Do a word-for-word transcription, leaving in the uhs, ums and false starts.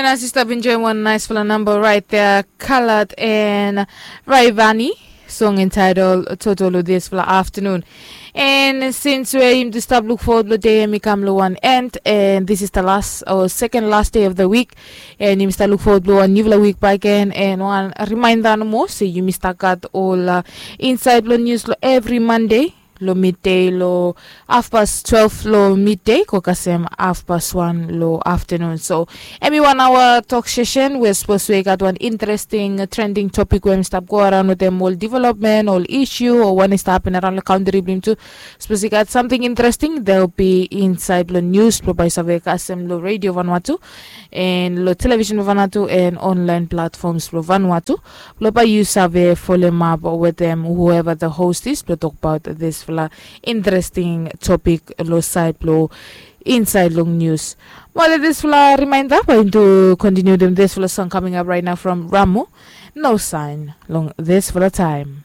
And as you stop enjoying one nice fella number right there, Khaled and Rayvanny, song entitled Toto lo this fella afternoon. And since we him to stop look forward lo day and mi kam lo one end, and this is the last or second last day of the week, and him start look forward lo one new week back again, and one reminder no more say you start got all uh, inside lo news lo every Monday lo midday lo half past twelve lo midday ko kasem half past one lo afternoon. So everyone our talk session we suppose we got one interesting trending topic we stop go around with them all development all issue or one is happen around the country blim too. Suppose you got something interesting, they'll be inside lo news lo by save kasem lo radio Vanuatu and lo television Vanuatu and online platforms lo Vanuatu. Lo by you save follow up with them whoever the host is to talk about this fla interesting topic lo side lo inside long news. Well, this fla reminder by to continue them this fla song coming up right now from Ramu. No sign long this fla time.